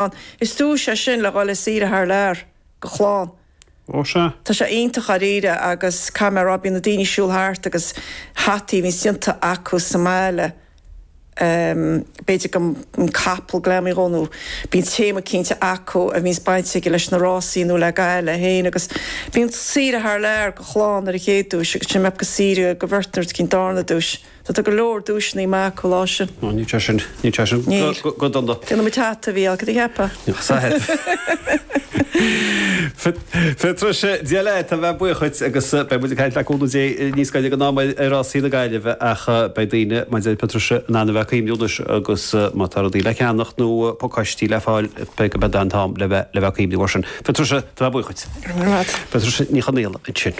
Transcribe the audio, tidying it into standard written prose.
ann. Is duais é sin le dhul ar saoire thar lear go chlann. Ó sea. Tá sé iontach dháiríre agus caithfidh mé a rá bíonn na daoine ag siúl thart agus hataí a bhíonns déanta acu sa mbaile, b'fhéidir go capall greamaithe dhó nó bíonn téama cinnte acu a bhíonns baint aige leis na rásaí nó le Gaillimh féin agus bíonn saoire thar lear go chlann ar an chéad duais agus sin mbeadh go saoire go bheirt nuair cinn darna duais. So tá go leor duaiseanna maith acu lá sin. Ó, níl sé sin, níl sé sin Níl. go dona. Déanfaidh muid hata, a Mhícheáil, cad a cheapfá? Patricia, Dia leat, tá mé buíoch dhuit agus beidh muid ag caint le cúnamh Dé níos gaire don am ar rásaí na Gaillimhe ach beidh daoine, mar a deir Patricia, in ann a bheith ag cuimhniú anois agus má tá rudaí le ceannacht nó pacáistí le fáil beidh go beidh an t-am le bheith le bheith ag cuimhniú air sin. Patricia, tá mé buíoch dhuit. Go raibh maith agat. Patricia Ní Chonaola ansin.